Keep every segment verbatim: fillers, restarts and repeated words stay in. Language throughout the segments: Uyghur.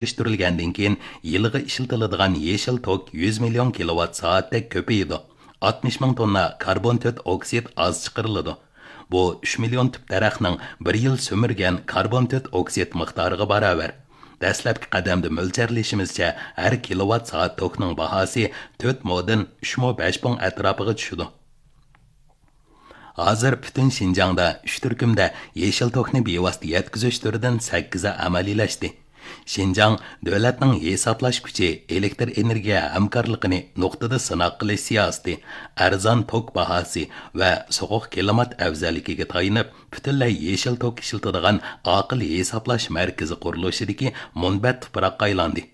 ئىشلەشتۈرۈلگەندىن كېيىن، يىلىغا ئىشلىتىلىدىغان يېشىل توك يۈز مىليون كىلوۋات سائەتتەك كۆپىيىدۇ. ئاتمىش مىڭ توننا كاربون تۆت ئوكسىد ئاز چىقىرىلىدۇ. بۇ ئۈچ مىليون تۈپ دەرەخنىڭ بىر يىل سۈمۈرگەن كاربون تۆت ئوكسىد مىقدارىغا باراۋەر. دەسلەپكى قەدەمدە مۆلچەرلىشىمىزچە، ھەر كىلوۋات سائەت توكنىڭ باھاسى تۆت مودىن ئۈچ مو بەش پۇڭ ئەتراپىغا چۈشىدۇ. ھازىر پۈتۈن شىنجاڭدا ئۈچ تۈركۈمدە يېشىل توكنى بىۋاسىتە يەتكۈزۈش تۈرىدىن سەككىزى ئەمەلىيلەشتى. شىنجاڭ دۆلەتنىڭ ھېسابلاش كۈچى، ئېلېكتر ئېنېرگىيە ھەمكارلىقىنى نۇقتىدا سىناق قىلىش سىياسىتى، ئەرزان توك باھاسى ۋە سوغۇق كىلىمات ئەۋزەللىكىگە تايىنىپ، پۈتۈنلەي يېشىل توك ئىشلىتىدىغان ئاقىل ھېسابلاش مەركىزى قۇرۇلۇشىدىكى مۇنبەت تۇپراققا ئايلاندى.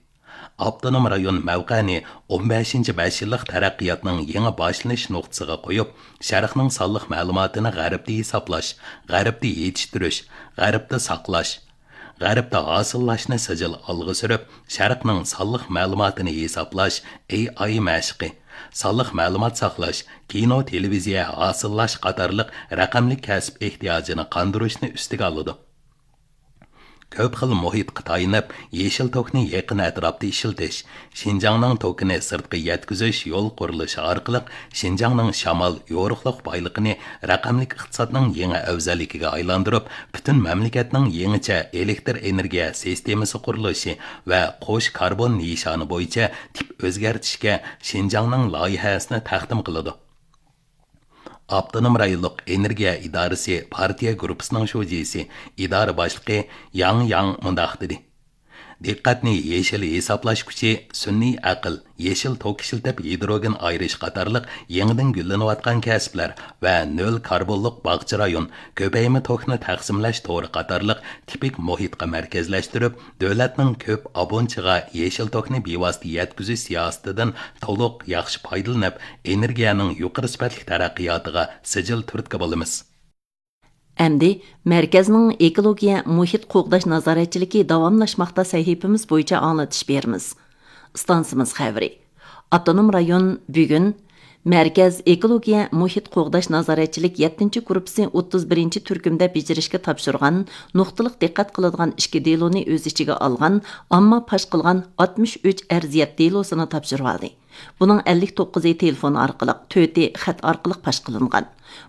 ئاپتونوم رايون مەۋقەنى ئون بەشىنچى بەش يىللىق تەرەققىياتنىڭ يېڭى باشلىنىش نۇقتىسىغا قويۇپ، شەرقنىڭ سانلىق مەلۇماتىنى غەربتە ھېسابلاش، غەربتە يېتىشتۈرۈش، غەربتە ساقلاش، غەربتە ھاسىللاشنى سىجىل ئالغا سۈرۈپ، شەرقنىڭ سانلىق مەلۇماتىنى ھېسابلاش، ئېي ئاي مەشقى، سانلىق مەلۇمات ساقلاش، كىنو، تېلېۋىزىيە ھاسىللاش قاتارلىق رەقەملىك كەسىپ ئېھتىياجىنى قاندۇرۇشنى ئۈستىگە ئالىدۇ. كۆپ خىل مۇھىتقا تايىنىپ، يېشىل توكنى يېقىن ئەتراپتا ئىشلىتىش، شىنجاڭنىڭ توكىنى سىرتقا يەتكۈزۈش يول قۇرۇلۇشى ئارقىلىق شىنجاڭنىڭ شامال، يورۇقلۇق بايلىقىنى رەقەملىك ئىقتىسادنىڭ يېڭى ئەۋزەللىكىگە ئايلاندۇرۇپ، پۈتۈن مەملىكەتنىڭ يېڭىچە ئېلېكتر ئېنېرگىيە سىستېمىسى قۇرۇلۇشى ۋە قوش كاربون نىشانى بويىچە تىپ ئۆزگەرتىشكە شىنجاڭنىڭ لايىھەسىنى تەقدىم قىلىدۇ. ئاپتونوم رايونلۇق ئېنېرگىيە ئىدارىسى پارتىيە گۇرۇپپىسىنىڭ شۇجىسى، ئىدارە باشلىقى ياڭ ياڭ مۇنداق دېدى: دىققەتنى يېشىل ھېسابلاش كۈچى، سۈنئىي ئەقىل، يېشىل توك ئىشلىتىپ ھىدروگېن ئايرىش قاتارلىق يېڭىدىن گۈللىنىۋاتقان كەسىپلەر ۋە نۆل كاربونلۇق باغچە رايون، كۆپەيمە توكنى تەقسىملەش تورى قاتارلىق تىپىك مۇھىتقا مەركەزلەشتۈرۈپ، دۆلەتنىڭ كۆپ ئابۇنچىغا يېشىل توكنى بىۋاسىتە يەتكۈزۈش سىياسىتىدىن تولۇق، ياخشى پايدىلىنىپ، ئېنېرگىيەنىڭ يۇقىرى سۈپەتلىك تەرەققىياتىغا سىجىل تۈرتكە بولىمىز. ئەمدى مەركەزنىڭ ئېكولوگىيە مۇھىت قوغداش نازارەتچىلىكى داۋاملاشماقتا سەھىپىمىز بويىچە ئاڭلىتىش بېرىمىز. ئىستانسىمىز خەۋىرى. ئاپتونوم رايون بۈگۈن مەركەز ئېكولوگىيە مۇھىت قوغداش نازارەتچىلىك يەتتىنچى گۇرۇپپىسى ئوتتۇز بىرىنچى تۈركۈمدە بېجىرىشكە تاپشۇرغان نۇقتىلىق دىققەت قىلىدىغان ئىككى دېلونى ئۆز ئىچىگە ئالغان ئامما پاش قىلغان ئاتمىش ئۈچ ئەرزىيەت دېلوسىنى تاپشۇرۇۋالدى. بۇنىڭ ئەللىك توققۇزى تېلېفون ئارقىلىق، تۆتى خەت ئارقىلىق پاش قىلىنغان.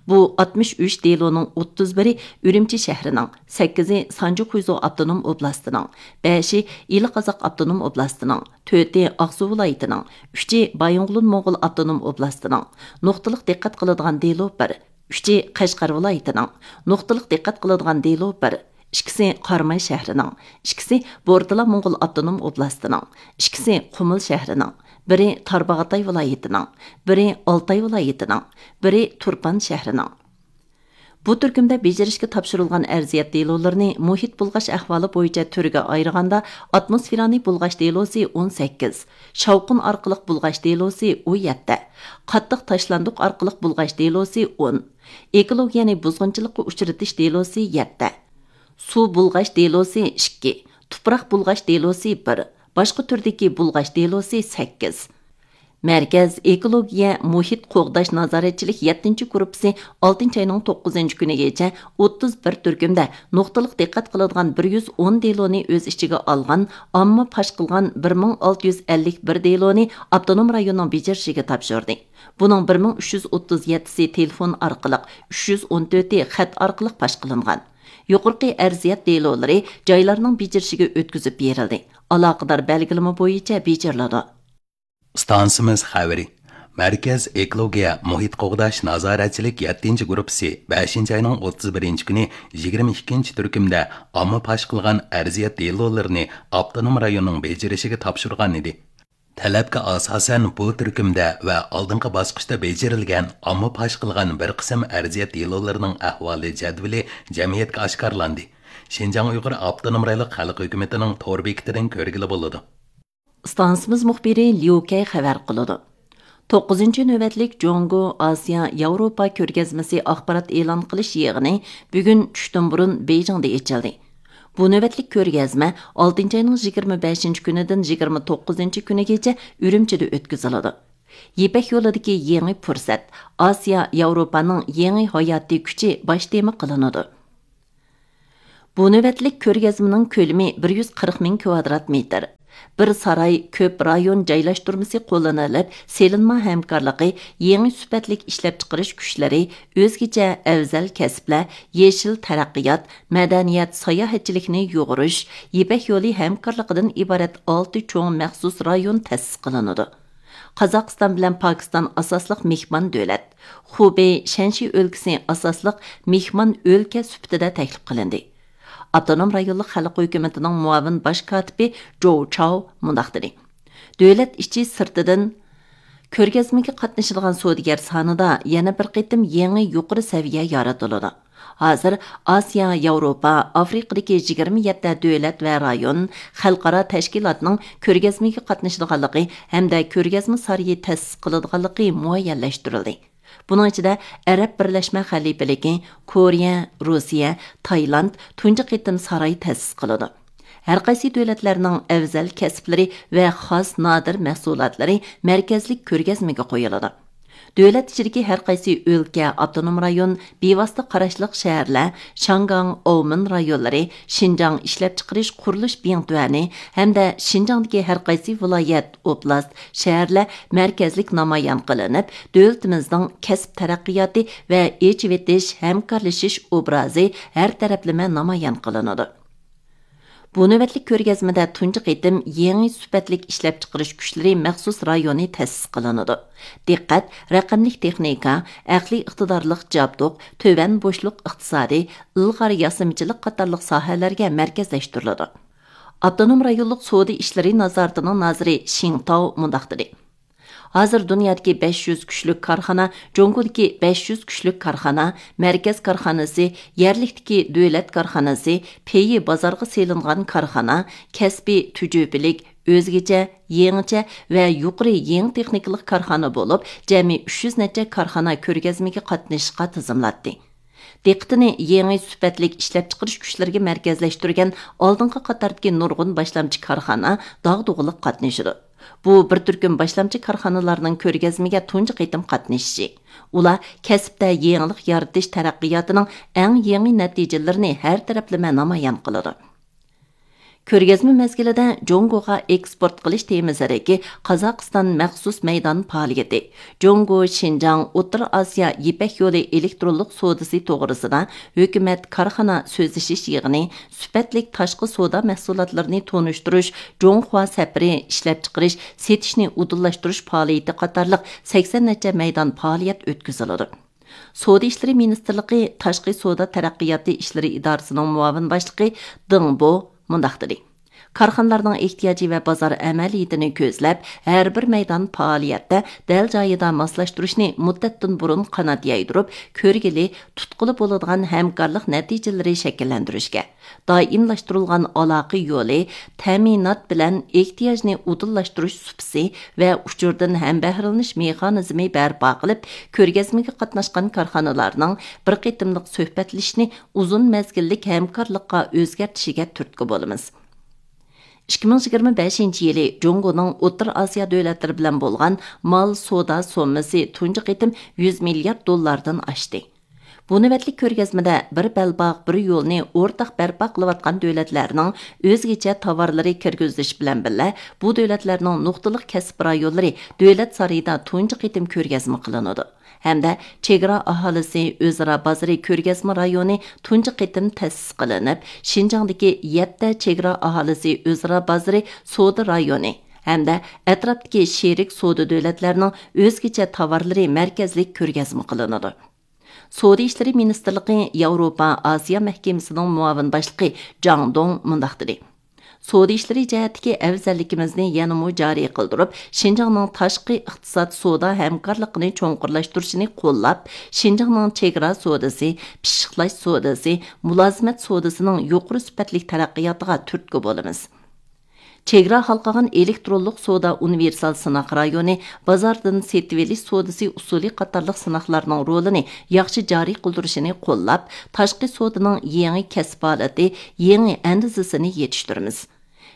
بۇ ئاتمىش ئۈچ دېلونىڭ ئوتتۇز بىرى ئۈرۈمچى شەھىرىنىڭ، سەككىزى سانجى خۇيزۇ ئاپتونوم ئوبلاستىنىڭ، بەشى ئىلى قازاق ئاپتونوم ئوبلاستىنىڭ، تۆتى ئاقسۇ ۋىلايىتىنىڭ، ئۈچى بايىنغولىن موڭغۇل ئاپتونوم ئوبلاستىنىڭ، نۇقتىلىق دىققەت قىلىدىغان دېلو بىر، ئۈچى قەشقەر ۋىلايىتىنىڭ، نۇقتىلىق دىققەت قىلىدىغان دېلو بىر، ئىككىسى قاراماي شەھىرىنىڭ، ئىككىسى بورتالا موڭغۇل ئاپتونوم ئوبلاستىنىڭ، ئىككىسى قۇمۇل شەھىرىنىڭ، بىرى تارباغاتاي ۋىلايىتىنىڭ، بىرى ئالتاي ۋىلايىتىنىڭ، بىرى تۇرپان شەھىرىنىڭ. بۇ تۈركۈمدە بېجىرىشكە تاپشۇرۇلغان ئەرزىيەت دېلولىرىنى مۇھىت بۇلغاش ئەھۋالى بويىچە تۈرگە ئايرىغاندا، ئاتموسفېرانى بۇلغاش دېلوسى ئون سەككىز، شاۋقۇن ئارقىلىق بۇلغاش دېلوسى ئون يەتتە، قاتتىق تاشلاندۇق ئارقىلىق بۇلغاش دېلوسى ئون، ئېكولوگىيەنى بۇزغۇنچىلىققا ئۇچرىتىش دېلوسى يەتتە، سۇ بۇلغاش دېلوسى ئىككى، تۇپراق بۇلغاش دېلوسى بىر، باشقا تۈردىكى بۇلغاش دېلوسى سەككىز. مەركەز ئېكولوگىيە مۇھىت قوغداش نازارەتچىلىك يەتتىنچى گۇرۇپپىسى ئالتىنچى ئاينىڭ توققۇزىنچى كۈنىگىچە ئوتتۇز بىر تۈركۈمدە نۇقتىلىق دىققەت قىلىدىغان بىر يۈز ئون دېلونى ئۆز ئىچىگە ئالغان ئامما پاش قىلغان بىر مىڭ ئالتە يۈز ئەللىك بىر دېلونى ئاپتونوم رايوننىڭ بېجىرىشىگە تاپشۇردى. بۇنىڭ بىر مىڭ ئۈچ يۈز ئوتتۇز يەتتىسى تېلېفون ئارقىلىق، ئۈچ يۈز ئون تۆتى خەت ئارقىلىق پاش قىلىنغان. يۇقىرىقى ئەرزىيەت دېلولىرى جايلارنىڭ بېجىرىشىگە ئۆتكۈزۈپ بېرىلدى. ئالاقىدار بەلگىلىمە بويىچە بېجىرىلىدۇ. ئىستانسىمىز خەۋىرى. مەركەز ئېكولوگىيە مۇھىت قوغداش نازارەتچىلىك يەتتىنچى گۇرۇپپىسى بەشىنچى ئاينىڭ ئوتتۇز بىرىنچى كۈنى يىگىرمە ئىككىنچى تۈركۈمدە ئامما پاش قىلغان ئەرزىيەت دېلولىرىنى ئاپتونوم رايوننىڭ بېجىرىشىگە تاپشۇرغان ئىدى. تەلەپكە ئاساسەن، بۇ تۈركۈمدە ۋە ئالدىنقى باسقۇچتا بېجىرىلگەن ئامما پاش قىلغان بىر قىسىم ئەرزىيەت دېلولىرىنىڭ ئەھۋالى جەدۋىلى جەمئىيەتكە ئاشكارىلاندى. شىنجاڭ ئۇيغۇر ئاپتونوم رايونلۇق خەلق ھۆكۈمىتىنىڭ تور بېكىتىدىن كۆرگىلى بولىدۇ. ئىستانسىمىز مۇخبىرى ليۇ كەي خەۋەر قىلىدۇ. توققۇزىنچى نۆۋەتلىك جۇڭگو، ئاسىيا، ياۋروپا كۆرگەزمىسى ئاخبارات ئېلان قىلىش يىغىنى بۈگۈن چۈشتىن بۇرۇن بېيجىڭدا ئېچىلدى. بۇ نۆۋەتلىك كۆرگەزمە ئالتىنچى ئاينىڭ يىگىرمە بەشىنچى كۈنىدىن يىگىرمە توققۇزىنچى كۈنىگىچە ئۈرۈمچىدە ئۆتكۈزۈلىدۇ. يىپەك يولىدىكى يېڭى پۇرسەت، ئاسىيا، ياۋروپانىڭ يېڭى ھاياتىي كۈچى باش تېما قىلىنىدۇ. بۇ نۆۋەتلىك كۆرگەزمىنىڭ كۆلىمى بىر يۈز قىرىق مىڭ كىۋادرات مېتىر. بىر ساراي، كۆپ رايون جايلاشتۇرمىسى قوللىنىلىپ، سېلىنما ھەمكارلىقى، يېڭى سۈپەتلىك ئىشلەپچىقىرىش كۈچلىرى، ئۆزگىچە ئەۋزەل كەسىپلەر، يېشىل تەرەققىيات، مەدەنىيەت، ساياھەتچىلىكنى يۇغۇرۇش، يىپەك يولى ھەمكارلىقىدىن ئىبارەت ئالتە چوڭ مەخسۇس رايون تەسىس قىلىنىدۇ. قازاقىستان بىلەن پاكىستان ئاساسلىق مېھمان دۆلەت، خۇبېي شەنشى ئۆلكىسى ئاساسلىق مېھمان ئۆلكە سۈپىتىدە تەكلىپ قىلىندى. ئاپتونوم رايونلۇق خەلق ھۆكۈمىتىنىڭ مۇئاۋىن باش كاتىپى جوۋ چاۋ مۇنداق دېدى: دۆلەت ئىچى سىرتىدىن كۆرگەزمىگە قاتنىشىدىغان سودىگەر سانىدا يەنە بىر قېتىم يېڭى يۇقىرى سەۋىيە يارىتىلىدۇ. ھازىر ئاسىيا، ياۋروپا، ئافرىقىدىكى يىگىرمە يەتتە دۆلەت ۋە رايون، خەلقئارا تەشكىلاتنىڭ كۆرگەزمىگە قاتنىشىدىغانلىقى ھەمدە كۆرگەزمە سارىيى تەسىس قىلىدىغانلىقى مۇئەييەنلەشتۈرۈلدى. بۇنىڭ ئىچىدە ئەرەب بىرلەشمە خەلىپىلىكى، كورېيە، روسىيە، تايلاند تۇنجى قېتىم ساراي تەسىس قىلىدۇ. ھەرقايسى دۆلەتلەرنىڭ ئەۋزەل كەسىپلىرى ۋە خاس نادىر مەھسۇلاتلىرى مەركەزلىك كۆرگەزمىگە قويۇلىدۇ. دۆلەت ئىچىدىكى ھەرقايسى ئۆلكە، ئاپتونوم رايون، بىۋاسىتە قاراشلىق شەھەرلەر، شياڭگاڭ، ئاۋمېن رايونلىرى، شىنجاڭ ئىشلەپچىقىرىش قۇرۇلۇش بىڭتۈەنى ھەمدە شىنجاڭدىكى ھەرقايسى ۋىلايەت، ئوبلاست، شەھەرلەر مەركەزلىك نامايان قىلىنىپ، دۆلىتىمىزنىڭ كەسىپ تەرەققىياتى ۋە ئېچىۋېتىش، ھەمكارلىشىش ئوبرازى ھەر تەرەپلىمە نامايان قىلىنىدۇ. بۇ نۆۋەتلىك كۆرگەزمىدە تۇنجى قېتىم يېڭى سۈپەتلىك ئىشلەپچىقىرىش كۈچلىرى مەخسۇس رايونى تەسىس قىلىنىدۇ. دىققەت، رەقەملىك تېخنىكا، ئەقلىي ئىقتىدارلىق جابدۇق، تۆۋەن بوشلۇق ئىقتىسادى، ئىلغار ياسىمىچىلىق قاتارلىق ساھەلەرگە مەركەزلەشتۈرۈلىدۇ. ئاپتونوم رايونلۇق سودا ئىشلىرى نازارىتىنىڭ نازىرى شىڭ تاۋ مۇنداق دېدى: ھازىر دۇنيادىكى بەش يۈز كۈچلۈك كارخانا، جۇڭگودىكى بەش يۈز كۈچلۈك كارخانا، مەركەز كارخانىسى، يەرلىكتىكى دۆلەت كارخانىسى، پېيى بازارغا سېلىنغان كارخانا، كەسپىي تۈجۈپىلىك، ئۆزگىچە، يېڭىچە ۋە يۇقىرى يېڭى تېخنىكىلىق كارخانا بولۇپ، جەمئىي ئۈچ يۈز نەچچە كارخانا كۆرگەزمىگە قاتنىشىشقا تىزىملاتتى. دىققىتىنى يېڭى سۈپەتلىك ئىشلەپچىقىرىش كۈچلىرىگە مەركەزلەشتۈرگەن ئالدىنقى قاتاردىكى نۇرغۇن باشلامچى كارخانا داغدۇغىلىق قاتنىشىدۇ. بۇ بىر تۈركۈم باشلامچى كارخانىلارنىڭ كۆرگەزمىگە تۇنجى قېتىم قاتنىشىشى. ئۇلار كەسىپتە يېڭىلىق يارىتىش تەرەققىياتىنىڭ ئەڭ يېڭى نەتىجىلىرىنى ھەر تەرەپلىمە نامايان قىلىدۇ. كۆرگەزمە مەزگىلىدە جۇڭگوغا ئېكسپورت قىلىش تېمىسىدىكى قازاقىستان مەخسۇس مەيدان پائالىيىتى، جۇڭگو شىنجاڭ ئوتتۇرا ئاسىيا يىپەك يولى ئېلېكترونلۇق سودىسى توغرىسىدا ھۆكۈمەت كارخانا سۆزلىشىش يىغىنى، سۈپەتلىك تاشقى سودا مەھسۇلاتلىرىنى تونۇشتۇرۇش جۇڭخۇا سەپىرى ئىشلەپچىقىرىش، سېتىشنى ئۇدۇللاشتۇرۇش پائالىيىتى قاتارلىق سەكسەن نەچچە مەيدان پائالىيەت ئۆتكۈزۈلىدۇ. سودا ئىشلىرى مىنىستىرلىقى تاشقى سودا تەرەققىياتى ئىشلىرى ئىدارىسىنىڭ مۇئاۋىن باشلىقى دېڭ بو مۇنداق دېدى: كارخانىلارنىڭ ئېھتىياجى ۋە بازار ئەمەلىيىتىنى كۆزلەپ، ھەر بىر مەيدان پائالىيەتتە دەل جايىدا ماسلاشتۇرۇشنى مۇددەتتىن بۇرۇن قانات يايدۇرۇپ، كۆرگىلى، تۇتقىلى بولىدىغان ھەمكارلىق نەتىجىلىرى شەكىللەندۈرۈشكە، دائىملاشتۇرۇلغان ئالاقە يولى، تەمىنات بىلەن ئېھتىياجنى ئۇدۇللاشتۇرۇش سۇپىسى ۋە ئۇچۇردىن ھەمبەھرىلىنىش مېخانىزمى بەرپا قىلىپ، كۆرگەزمىگە قاتناشقان كارخانىلارنىڭ بىر قېتىملىق سۆھبەتلىشىشنى ئۇزۇن مەزگىللىك ھەمكارلىققا ئۆزگەرتىشىگە تۈرتكە بولىمىز. ئىككى مىڭ يىگىرمە بەشىنچى يىلى جۇڭگونىڭ ئوتتۇرا ئاسىيا دۆلەتلىرى بىلەن بولغان مال سودا سوممىسى تۇنجى قېتىم يۈز مىليارد دوللاردىن ئاشتى. بۇ نۆۋەتلىك كۆرگەزمىدە بىر بەلباغ، بىر يولنى ئورتاق بەرپا قىلىۋاتقان دۆلەتلەرنىڭ ئۆزگىچە تاۋارلىرى كىرگۈزۈش بىلەن بىللە، بۇ دۆلەتلەرنىڭ نۇقتىلىق كەسىپ رايونلىرى دۆلەت سارىيىدا تۇنجى قېتىم كۆرگەزمە قىلىنىدۇ. ھەمدە چېگرا ئاھالىسى ئۆزئارا بازىرى كۆرگەزمە رايونى تۇنجى قېتىم تەسىس قىلىنىپ، شىنجاڭدىكى يەتتە چېگرا ئاھالىسى ئۆزئارا بازىرى سودا رايونى ھەمدە ئەتراپتىكى شېرىك سودا دۆلەتلەرنىڭ ئۆزگىچە تاۋارلىرى مەركەزلىك كۆرگەزمە قىلىنىدۇ. سودا ئىشلىرى مىنىستىرلىقى ياۋروپا ئاسىيا مەھكىمىسىنىڭ مۇئاۋىن باشلىقى جاڭ دوڭ مۇنداق دېدى: سودا ئىشلىرى جەھەتتىكى ئەۋزەللىكىمىزنى يەنىمۇ جارى قىلدۇرۇپ، شىنجاڭنىڭ تاشقى ئىقتىساد سودا ھەمكارلىقىنى چوڭقۇرلاشتۇرۇشىنى قوللاپ، شىنجاڭنىڭ چېگرا سودىسى، پىششىقلاش سودىسى، مۇلازىمەت سودىسىنىڭ يۇقىرى سۈپەتلىك تەرەققىياتىغا تۈرتكە بولىمىز. چېگرا ھالقىغان ئېلېكترونلۇق سودا ئۇنىۋېرسال سىناق رايونى، بازاردىن سېتىۋېلىش سودىسى ئۇسۇلى قاتارلىق سىناقلارنىڭ رولىنى ياخشى جارى قىلدۇرۇشىنى قوللاپ، تاشقى سودىنىڭ يېڭى كەسىپ ھالىتى، يېڭى ئەندىزىسىنى يېتىشتۈرىمىز.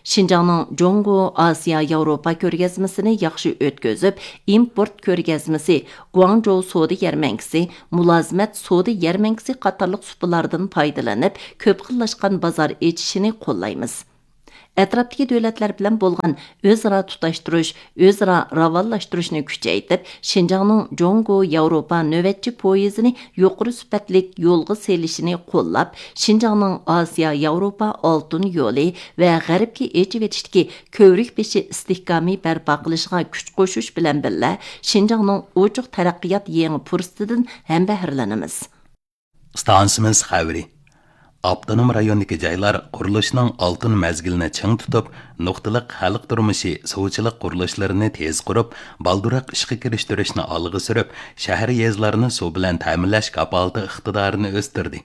شىنجاڭنىڭ جۇڭگو ئاسىيا ياۋروپا كۆرگەزمىسىنى ياخشى ئۆتكۈزۈپ، ئىمپورت كۆرگەزمىسى، گۇاڭجوۋ سودا يەرمەنكىسى، مۇلازىمەت سودا يەرمەنكىسى قاتارلىق سۇپىلاردىن پايدىلىنىپ، كۆپ خىللاشقان بازار ئېچىشىنى قوللايمىز. ئەتراپتىكى دۆلەتلەر بىلەن بولغان ئۆزئارا تۇتاشتۇرۇش، ئۆزئارا راۋانلاشتۇرۇشنى كۈچەيتىپ، شىنجاڭنىڭ جۇڭگو ياۋروپا نۆۋەتچى پويىزىنى يۇقىرى سۈپەتلىك يولغا سېلىشىنى قوللاپ، شىنجاڭنىڭ ئاسىيا ياۋروپا ئالتۇن يولى ۋە غەربكە ئېچىۋېتىشتىكى كۆۋرۈك بېشى ئىستىھكامى بەرپا قىلىشىغا كۈچ قوشۇش بىلەن بىللە، شىنجاڭنىڭ ئوچۇق تەرەققىيات يېڭى پۇرسىتىدىن ھەمبەھىرلىنىمىز. ئىستانسىمىز خەۋىرى. ئاپتونوم رايوندىكى جايلار قۇرۇلۇشنىڭ ئالتۇن مەزگىلىنى چىڭ تۇتۇپ، نۇقتىلىق خەلق تۇرمۇشى، سۇچىلىق قۇرۇلۇشلىرىنى تېز قۇرۇپ، بالدۇرراق ئىشقا كىرىشتۈرۈشنى ئالغا سۈرۈپ، شەھەر، يېزىلارنى سۇ بىلەن تەمىنلەش كاپالىتى ئىقتىدارىنى ئۆستۈردى.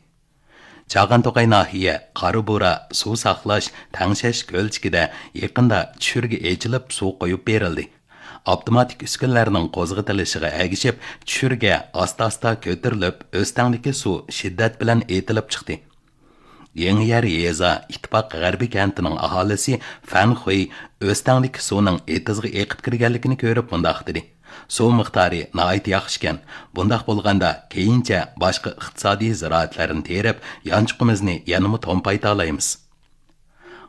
چاغان توقاي ناھىيە قارا بۇرا سۇ ساقلاش، تەڭشەش كۆلچىكىدە يېقىندا چۈشۈرگە ئېچىلىپ، سۇ قويۇپ بېرىلدى. ئاپتوماتىك ئۈسكۈنىلەرنىڭ قوزغىتىلىشىغا ئەگىشىپ، چۈشۈرگە ئاستا-ئاستا كۆتۈرۈلۈپ، ئۆستەڭدىكى سۇ شىددەت بىلەن ئېتىلىپ چىقتى. يېڭىيەر يېزا ئىتتىپاق غەربىي كەنتىنىڭ ئاھالىسى فەن خۇي ئۆستەڭدىكى سۇنىڭ ئېتىزغا ئېقىپ كىرگەنلىكىنى كۆرۈپ مۇنداق دېدى: «سۇ مىقدارى ناھايىتى ياخشىكەن. بۇنداق بولغاندا، كېيىنچە باشقا ئىقتىسادىي زىرائەتلەرنى تېرىپ، يانچۇقىمىزنى يەنىمۇ تومپايتالايمىز.»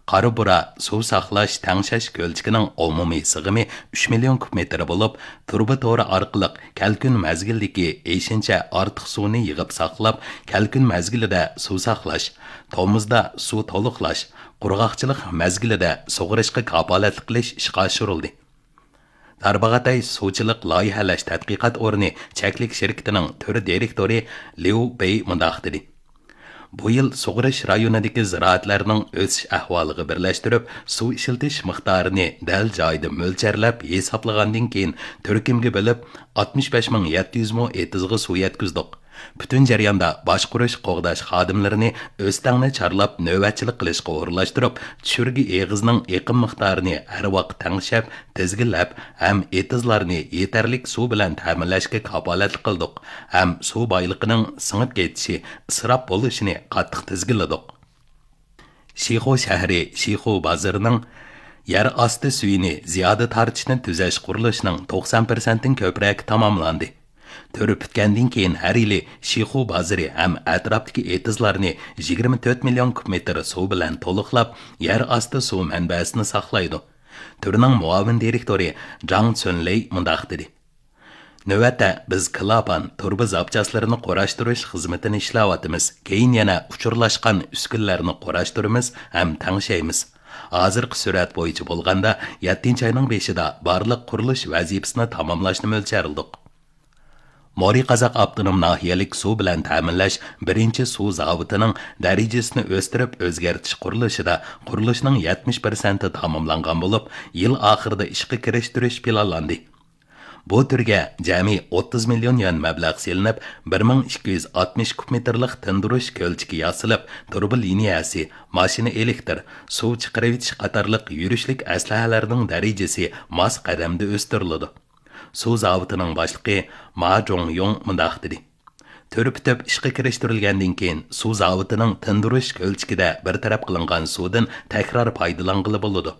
قارا بۇرا سۇ ساقلاش، تەڭشەش كۆلچىكىنىڭ ئومۇمىي سىغىمى ئۈچ مىليون كۇب مېتىر بولۇپ، تۇرۇبا تورى ئارقىلىق كەلكۈن مەزگىلىدىكى ئېشىنچە ئارتۇق سۇنى يىغىپ ساقلاپ، كەلكۈن مەزگىلىدە سۇ ساقلاش، تومۇزدا سۇ تولۇقلاش، قۇرغاقچىلىق مەزگىلىدە سۇغىرىشقا كاپالەتلىك قىلىش ئىشقا ئاشۇرۇلدى. تارباغاتاي سۇچىلىق لايىھەلەش تەتقىقات ئورنى چەكلىك شىركىتىنىڭ تۈر دىرېكتورى ليۇ بېي مۇنداق دېدى: «بۇ يىل سۇغىرىش رايونىدىكى زىرائەتلەرنىڭ ئۆسۈش ئەھۋالىغا بىرلەشتۈرۈپ، سۇ ئىشلىتىش مىقدارىنى دەل جايىدا مۆلچەرلەپ ھېسابلىغاندىن كېيىن، تۈركۈمگە بۆلۈپ، ئاتمىش بەش مىڭ يەتتە يۈز مو ئېتىزغا سۇ يەتكۈزدۇق. پۈتۈن جەرياندا باشقۇرۇش، قوغداش خادىملىرىنى ئۆستەڭنى چارلاپ نۆۋەتچىلىك قىلىشقا ئورۇنلاشتۇرۇپ، چۈشۈرگە ئېغىزىنىڭ ئېقىم مىقدارىنى ھەر ۋاقىت تەڭشەپ، تىزگىنلەپ ھەم ئېتىزلارنى يېتەرلىك سۇ بىلەن تەمىنلەشكە كاپالەتلىك قىلدۇق ھەم سۇ بايلىقىنىڭ سىڭىپ كېتىشى، ئىسراپ بولۇشىنى قاتتىق تىزگىنلىدۇق.» شىخۇ شەھىرى شىخۇ بازىرىنىڭ يەر ئاستى سۈيىنى زىيادە تارتىشنى تۈزەش قۇرۇلۇشىنىڭ توقسان پىرسەنتتىن كۆپرەك تاماملاندى. تۈرى پۈتكەندىن كېيىن، ھەر يىلى شىخۇ بازىرى ھەم ئەتراپتىكى ئېتىزلارنى يىگىرمە تۆت مىليون كۇب مېتىر سۇ بىلەن تولۇقلاپ، يەر ئاستى سۇ مەنبەسىنى ساقلايدۇ. تۈرنىڭ مۇئاۋىن دىرېكتورى جاڭ چۈنلېي مۇنداق دېدى: «نۆۋەتتە بىز كىلاپان، تۇرۇبا زاپچاسلىرىنى قۇراشتۇرۇش خىزمىتىنى ئىشلەۋاتىمىز. كېيىن يەنە ئۇچۇرلاشقان ئۈسكۈنىلەرنى قۇراشتۇرىمىز ھەم تەڭشەيمىز. ھازىرقى سۈرئەت بويىچە بولغاندا، يەتتىنچى ئاينىڭ بېشىدا بارلىق قۇرۇلۇش ۋەزىپىسىنى تاماملاشنى مۆلچەرلىدۇق.» مورى قازاق ئاپتونوم ناھىيەلىك سۇ بىلەن تەمىنلەش بىرىنچى سۇ زاۋۇتىنىڭ دەرىجىسىنى ئۆستۈرۈپ ئۆزگەرتىش قۇرۇلۇشىدا قۇرۇلۇشنىڭ يەتمىش پىرسەنتى تاماملانغان بولۇپ، يىل ئاخىرىدا ئىشقا كىرىشتۈرۈش پىلانلاندى. بۇ تۈرگە جەمئىي ئوتتۇز مىليون يۈەن مەبلەغ سېلىنىپ، بىر مىڭ ئىككى يۈز ئاتمىش كۇب مېتىرلىق تىندۇرۇش كۆلچىكى ياسىلىپ، تۇرۇبا لىنىيەسى، ماشىنا ئېلېكتىر، سۇ چىقىرىۋېتىش قاتارلىق يۈرۈشلۈك ئەسلىھەلەرنىڭ دەرىجىسى ماس قەدەمدە ئۆستۈرۈلىدۇ. سۇ زاۋۇتىنىڭ باشلىقى ما جۇڭيۇڭ مۇنداق دېدى: «تۈر پۈتۈپ ئىشقا كىرىشتۈرۈلگەندىن كېيىن، سۇ زاۋۇتىنىڭ تىندۇرۇش كۆلچىكىدە بىر تەرەپ قىلىنغان سۇدىن تەكرار پايدىلانغىلى بولىدۇ.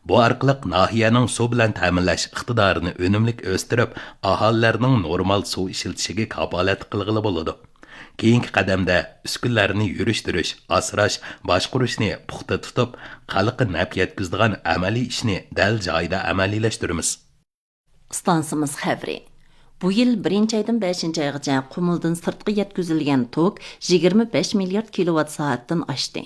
بۇ ئارقىلىق ناھىيەنىڭ سۇ بىلەن تەمىنلەش ئىقتىدارىنى ئۈنۈملۈك ئۆستۈرۈپ، ئاھالىلەرنىڭ نورمال سۇ ئىشلىتىشىگە كاپالەتلىك قىلغىلى بولىدۇ. كېيىنكى قەدەمدە ئۈسكۈنىلەرنى يۈرۈشتۈرۈش، ئاسراش، باشقۇرۇشنى پۇختا تۇتۇپ، خەلققە نەپ يەتكۈزىدىغان ئەمەلىي ئىشنى دەل جايىدا ئەمەلىيلەشتۈرىمىز.» ئىستانسىمىز خەۋىرى. بۇ يىل بىرىنچى ئايدىن بەشىنچى ئايغىچە قۇمۇلدىن سىرتقا يەتكۈزۈلگەن توك يىگىرمە بەش مىليارد كىلوۋات سائەتتىن ئاشتى.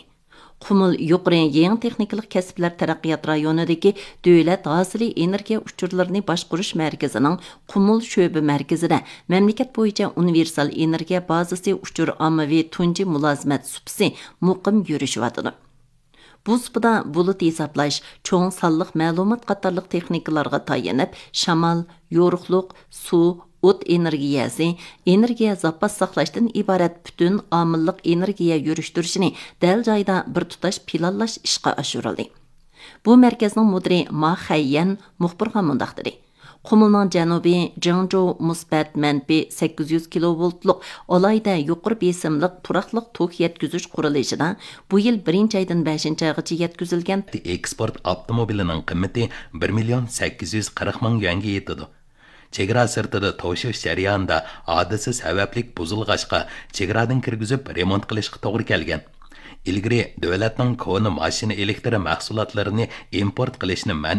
قۇمۇل يۇقىرى يېڭى تېخنىكىلىق كەسىپلەر تەرەققىيات رايونىدىكى دۆلەت ھاسىلى ئېنېرگىيە ئۇچۇرلىرىنى باشقۇرۇش مەركىزىنىڭ قۇمۇل شۆبە مەركىزىدە مەملىكەت بويىچە ئۇنىۋېرسال ئېنېرگىيە بازىسى ئۇچۇر ئاممىۋى تۇنجى مۇلازىمەت سۇپىسى مۇقىم يۈرۈشۈۋاتىدۇ. بۇ سۇپىدا بۇلۇت ھېسابلاش، چوڭ سانلىق مەلۇمات قاتارلىق تېخنىكىلارغا تايىنىپ، شامال، يورۇقلۇق، سۇ، ئوت ئېنېرگىيەسى، ئېنېرگىيە زاپاس ساقلاشتىن ئىبارەت پۈتۈن ئامىللىق ئېنېرگىيە يۈرۈشتۈرۈشىنى دەل جايىدا بىر تۇتاش پىلانلاش ئىشقا ئاشۇرۇلدى. بۇ مەركەزنىڭ مۇدىرى ما خەييەن مۇخبىرغا مۇنداق دېدى: قۇمۇلنىڭ جەنۇبى جېڭجۇ مۇسبەت مەنپى سەككىز يۈز كىلوۋولتلۇق ئالاھىدە يۇقىرى بېسىملىق پۇراقلىق توك يەتكۈزۈش قۇرۇلۇشىدا بۇ يىل بىرىنچى ئايدىن بەشىنچى ئايغىچە يەتكۈزۈلگەن. ئېكسپورت ئاپتوموبىلىنىڭ قىممىتى بىر مىليون سەككىز يۈز قىرىق مىڭ يۈەنگە يېتىدۇ. چېگرا سىرتىدا توشۇش جەريانىدا ھادىسە سەۋەبلىك بۇزۇلغاچقا، چېگرادىن كىرگۈزۈپ رېمونت قىلىشقا توغرا كەلگەن. ئىلگىرى دۆلەتنىڭ كونا ماشىنا ئېلېكتر مەھسۇلاتلىرىنى ئىمپورت قىلىشنى مەنئى